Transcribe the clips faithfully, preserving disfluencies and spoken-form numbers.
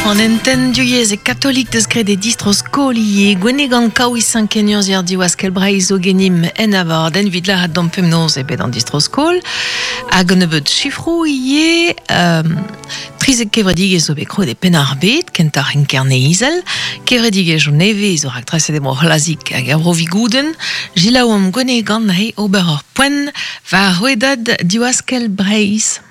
An enten diuyez e katolik deus graet e distro skol ivez. Gwennegan kaouiz kenurzhier diwaskel Breizh zo genim en abord en vid lâret d'an pemnoz e bet an distro skol. Hag an nebeud chifroù ivez, euh, trizek kevredigezh zo bet kroet e Penn-ar-Bed, kentoc'h en Kerne-Izel, kevredigezh zo nevez zo raktreset e bro C'hlazik hag er bro Vigouden, Jilaouomp Gwennegan he ober ur poent war rouedad diwaskel Breizh.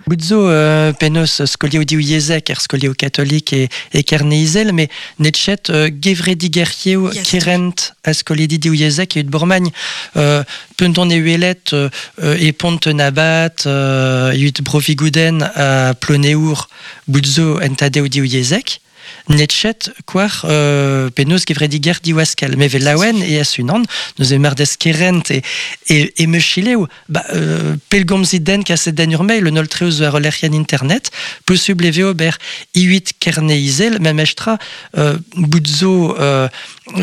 Bout zo euh, penaos skolioù divyezhek er skolioù katolik e, e Kerne-Izel, met netchet euh, gevredigerioù Yes. kerent a skolidi divyezhek e ut Bourmagn. Euh, Penton e uelet euh, e Pont-Nabat, euh, ut Brovigouden a Ploneour bout zo entadeo divyezhek. Netchet kwar euh, penaos gevrediger diwaskel. Me vel laouen e asunan, neus e mardez kerent e, e, e mechileo, ba, euh, pelgomzit den kaset den ur mail, un ol treoz war lec'hienn internet, posubl e ve ober iuit kerne izel, mem estra euh, bout zo euh,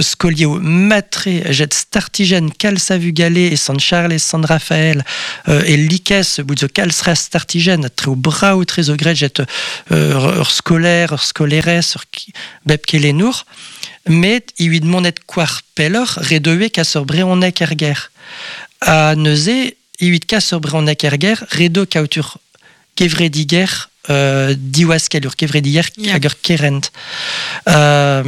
skolioù matre jet startigen kalz a vugale e Sant Charles, Sant Raphaël euh, e likes bout zo kalz ra startigen treo brao tre zo gret jet euh, ur skolaer, ur skolerez, ur ki- bep kelenour, met iuit monet kwar pelloc'h redoe kas ur breonek er ger. A neuze, iuit kas ur breonek er ger, redo kaout ur kevrediger euh, diwaskel, ur kevrediger Ya. hag ur kerent. Euh,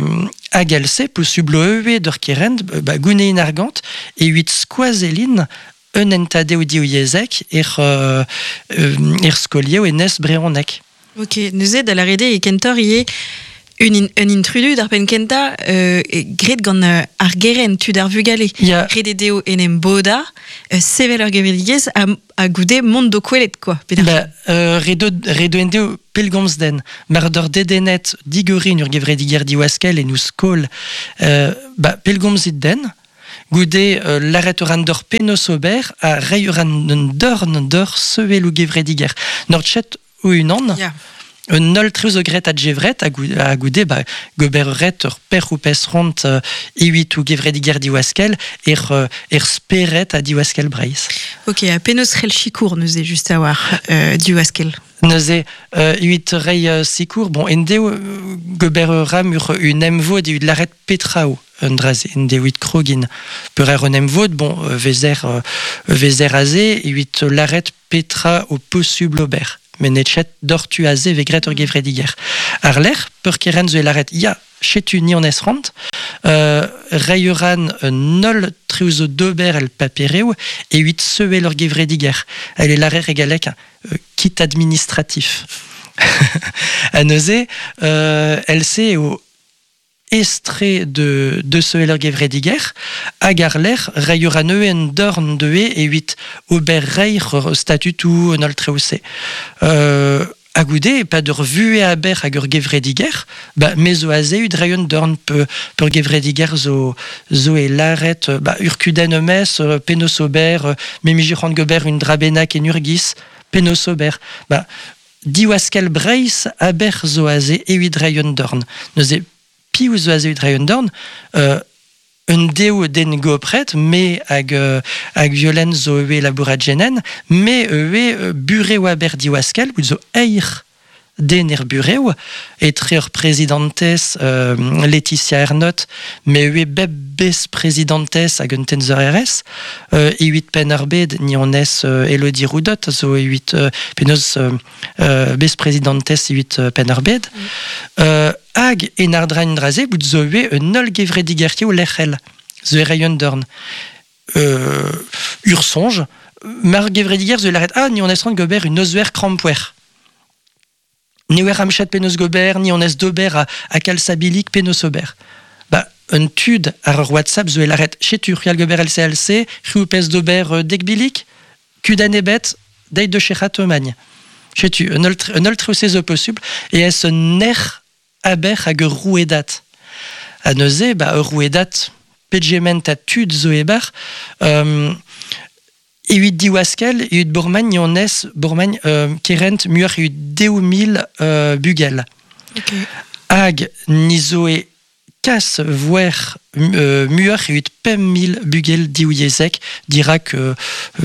hag else, posubl eue d'ur kerent, ba, gounein argant, e huit skoazelin un entadeo divyezhek er, euh, euh, er skolioù e nes breonek. Ok, neuze da lâret eo e kentoc'h ivez un, in, un intrudu d'ar penn kentañ euh, e graet gant euh, ar gerent tud ar vugale. Ya. Ret eo dezho en em bodañ, euh, sevel ur gevredigezh ha, ha goude mont d'o kwelet, quoi. Pe d'ar- Ba, euh, redo, redo endeo pelgomz den. Mar d'ur dedennet digorin ur gevrediger diwaskel e nous skol, euh, ba, pelgomzit den, goude euh, laret ur an d'ur penos ober ha rei ur an dorn d'ur sevel ou gevrediger. Nor chet ou unan, Ya. un ol treuz o gret a djevret a gou- a goude ba, gober ret ur per ou pes ront euh, iwit ou gevrediger diwaskel er, euh, er speret a diwaskel Breizh. Ok, ha penaos c'hell sikour neuze just a war euh, diwaskel. Neuze, euh, iwit rei euh, sikour, bon, endeo euh, gober ur ram ur un emvod iwit laret petrao un draze, endeo it krogin. Peur er un emvod, bon, euh, vezer, euh, vezer aze, iwit laret petra o posubl ober. Men netchet dortu aze ve gret ur gevrediger. Ar lec'h, peur keren zo e laret, ya, chetu ni an esrant, euh, rei uran un ol treuzo dober el papereo e huit seuel ur gevrediger. Elle est l'arrêt régalek euh, kit administratif. A neuze, euh, elle sait au estre de, de seuel ur gevrediger, hag ar lec'h, rei uran en dorn deue e huit ober reir statutou un ol treuse. Euh, a goude, pa d'ur vue aber hag ur gevrediger, ba, me zo aze ud reion dorn pe, peur gevrediger zo, zo e laret, ba, ur kudenn mes, euh, penos ober, euh, me mije c'hoant gober un drabenak en urgis, penos ober. Ba, diwaskel Breizh aber zo aze e uid reion dorn. Neuze, piv zo aze uid reion dorn, euh, un deo den gopret, me hag, euh, hag violen zo eue labourat genen, me eue euh, bureau aber diwaskel, bout zo eir den er bureau, etre ur prezidentez euh, Laetitia Ernot, me eue bep bez prezidentez hag un tenzer R S, euh, e huit pen ar bed, ni on es euh, Elodie Roudot, zo e huit euh, penaos euh, euh, bez prezidentez e huit euh, pen ar bed. Mm. Euh, hag en ar drain draze, bout zo eue un ol gevredigertio lec'hel, zo e reion dorn. Euh, ur sonj, mar gevrediger zo e laret, ah, ni on es rand gober un ozuer krampoer. Ni oer amchet penaos gober, ni on es dober a, a kalsabilik penaos ober. Ba, un tud ar ur WhatsApp zo e laret, chetu, c'hwal gober L C L C, c'hwi pez dober, euh, dekbilik, kudan ebet, deit de chechat omagn. Chetu, un ol tre-, un ol treuse zo posubl, e es un er aber hag ur rouedat. A neuze, ba, ur rouedat, pegement a tud zo ebar, euh, e huit diwaskel, e huit Bourmagn, ni on es Bourmagn, euh, kerent muar e huit deo mil, euh, bugel. Ok. Hag ni zo e kas voer euh, muoc'h evit pemp mil bugel divyezhek dirak euh,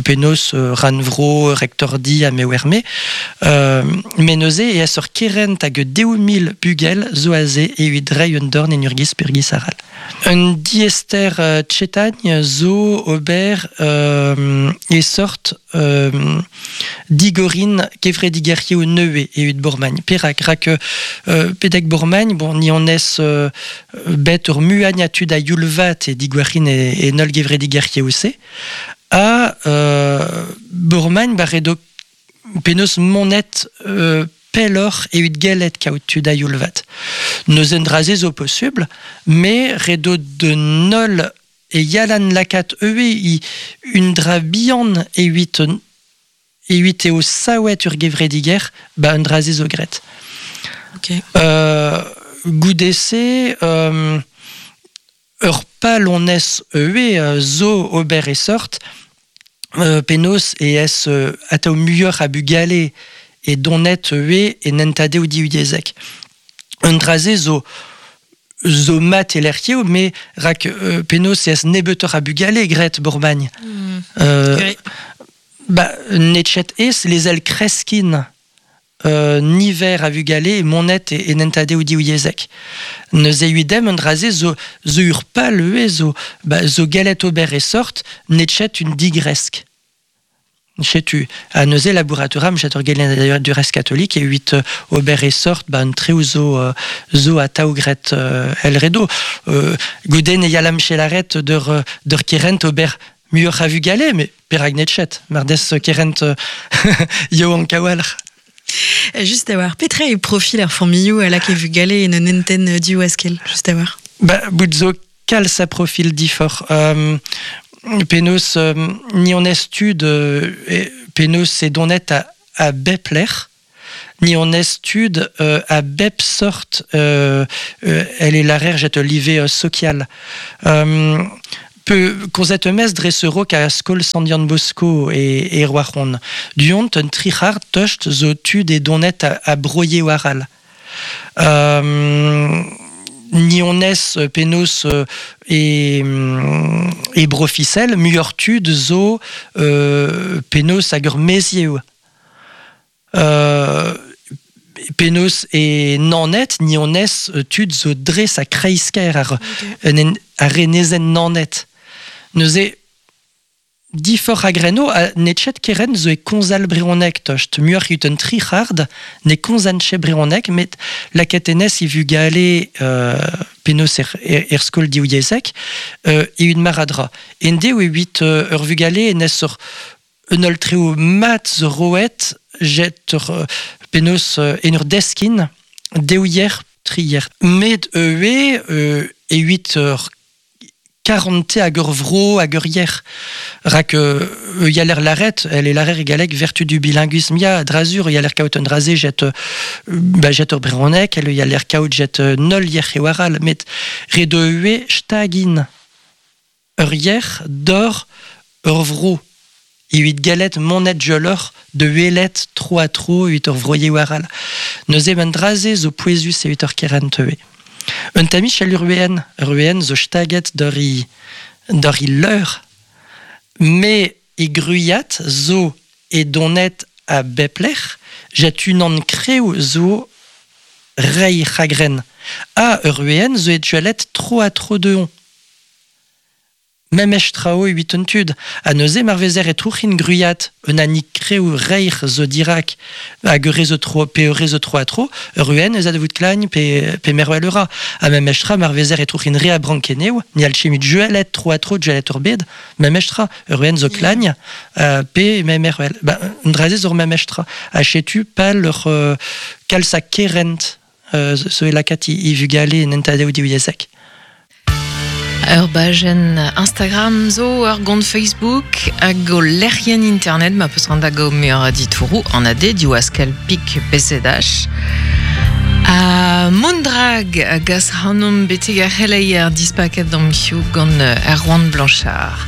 penaos euh, rannvro, rektordi ha mewerme. Euh, met neuze e ez ur kerent hag deou mil bugel zo aze evit reiñ un dorn en urgiz purgiz aral. Un diester euh, tchetagn zo ober euh, e sort euh, digorin kevredigerioù neue evit Bourmagn. Perak, rak euh, pedek Bourmagn, bon, ni on ez euh, bet ur muagn a tud a youlvat e digwarin e, e nol gevredigerioù se, a euh, Bourmagn ba redo penaos monet euh, pelloc'h evit gellet kaout tud a youlvat. Neuze un draze zo posubl, me redo de nol e yalan lakat eue i un dra bihan evit evit eo saouet ur gevrediger, ba un draze zo gret. Ok. Euh, goudese, euh, ur pal on ez eue euh, zo ober e sort, euh, penaos e ez euh, atao muioc'h a bugale e donet eue e nentade o divyezhek. Un draze zo zo mat e lec'hioù, me rak euh, penaos e ez nebeutoc'h a bugale gret Bourmagn. Mm. Euh, Okay. Ba, netchet ez lezel kreskin euh, niver a vugale e monet e, e nentade o divyezhek. Neuze uidem un draze zo, zo ur pal eue zo, ba, zo galet ober e sort netchet un digresk. Chetu, a neuze labouratoram jet ur gelen d'ailleurs du reste catholique e huit euh, ober e sort ba un treo zo, euh, zo a taougret euh, el redo. Euh, gouden e yalam chelaret d'ur, d'ur kerent ober muioc'h a vugale, mais perak netchet, mar des kerent euh, yo an kawalc'h. Juste a war, petra e profil ar familhoù a lak e vugale en un enten div askel, juste a war. Ba, bout zo kalz a profil difor. Euh, penaos euh, ni on estud euh, e, penaos e donet a, a bep lec'h, ni on estud euh, a bep sort euh, euh, elle est l'arer jet livé euh, social. Euh, Pe konzet emez dre se rok a skol Sant Yann Bosco e, e Roazhon. Du-hont un tric'hard tost zo tud e donet a, a broie waral. Euh, ni on ez penaos euh, e, e brofisel, muioc'h tud zo euh, penaos hag ur mezioù. Euh, penaos e nanet, ni on ez tud zo dres a kreisker ar, okay. en, ar renezen nanet. Neuze difor a greno a netchet keren zo e konzal breonek tost. Muioc'h ut un tric'hard ne konzan che breonek, met laket enez i vugale euh, penaos er, er, er skol divyezhek euh, e un maradra. En deo e huit euh, ur vugale enez ur un ol treo mat zo roet jet ur euh, penaos euh, en ur deskin deouier trier. Met eue euh, e huit ur quarante hag ur vro hag ur yer. Rak euh, yaler laret, elle est larer egalek vertu du bilinguisme ya, drazur, yaler kaout un draze jet, euh, ba, jet ur breonek, elle yaler kaout jet euh, nol yer e waral, met redo ue stagin ur yer d'or ur vro. E huit galet monet jolor de huelet tro a tro huit ur vroye waral. Neuze ben draze zo pouezus e huit ur kerent eue. Un tamich al uruen, uruen zo staget d'ur i, d'ur i leur, me e gruiat zo e donet a bepler, jet unan kreu zo rei chagren. A uruen zo e dualet tro a tro de on. Mem estrao huit un tud, a neuze marvezer e trouchin gruiat, un ani kreu reir zo dirak, hag ur zo tro, pe ur zo tro a tro, ur uen eus a de vout klagn pe, pe merwel ura. A mem estra marvezer e trouchin re a brankeneu, ni al chemut juelet tro a tro juelet ur bed, mem estra, ur uen zo klagn, euh, pe mem merwel. Ba, un draze zo mem estra. A chetu pal ur euh, kalz a kerent, euh, zo e lakat i, i vugale nentadeo divyezhek. Ur bajen Instagram zo, ur gont Facebook, hag o lec'hien internet, ma peus rand hag o meur a ditourou, an ade diwaskel pik P C D H. A Mondrag a gas hanom beteg ar c'heleier dispaket d'am hiziv gant Erwan Blanchard.